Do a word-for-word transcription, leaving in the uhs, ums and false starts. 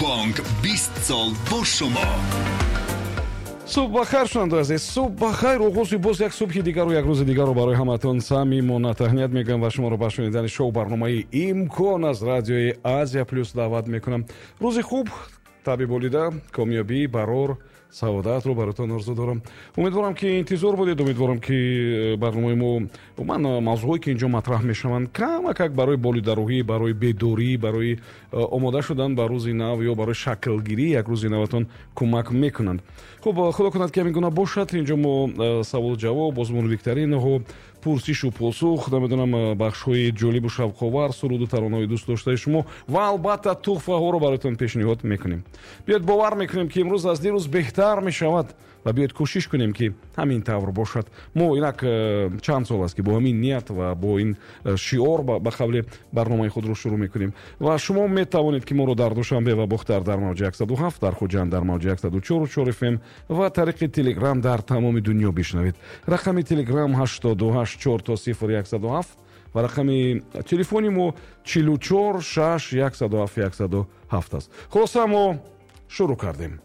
Бонк бист сол бо шумо. Субҳ бахайр, шунавандаи азиз, субҳ бахайр. Оғози боз як субҳи дигару як рӯзи дигарро барои ҳаматон самимона таҳният мегӯям ва шуморо ба шунидани шоу барномаи «Имкон» аз радиои Азия Плюс даъват мекунам. Рӯзи хуб, табъи болида, комёбӣ, барор, саодатро баротон орзу дорам. Умедворам, ки интизор будед. Умедворам, ки э, барномаи мо, умуман э, мавзӯъҳое, ки инҷо матраҳ мешаванд, камакак барои болидарӯҳӣ, барои бедорӣ, барои э, омода шудан ба рӯзи нав ё барои шаклгирии як рӯзи наватон кӯмак мекунанд. Хуб, худо кунад, ки ҳамин гуна бошад. Инҷо мо саволу ҷавоб, озмуну викторинаҳо, пурсишу посух, намедонам, бахшҳои ҷолибу шавқовар, суруду таронаҳои дӯстдоштаи шумо ва албатта туҳфаҳоро бароятон пешниҳод мекунем. Биёед, бовар мекунем, ки имрӯз аз дирӯз беҳтар мешавад, ва биёед, кӯшиш кунем, ки ҳамин тавр бошад. Мо инак э, чанд сол аст, ки бо ҳамин ният ва бо ин э, шиор ба қавле барномаи худро шурӯъ мекунем. Ва шумо метавонед, ки моро дар Душанбе ва Бохтар дар мавҷи яксаду ҳафт, дар Хуҷанд дар мавҷи яксаду чору чор F M ва тариқи Телеграм дар тамоми дунё бишнавед. Рақами Телеграм ҳаштоду ҳашт чор то сифр яксаду ҳафт ва рақами телефони мо чилу чор шаш яксаду ҳафт яксаду ҳафт аст. Хулоса, мо шурӯъ кардем.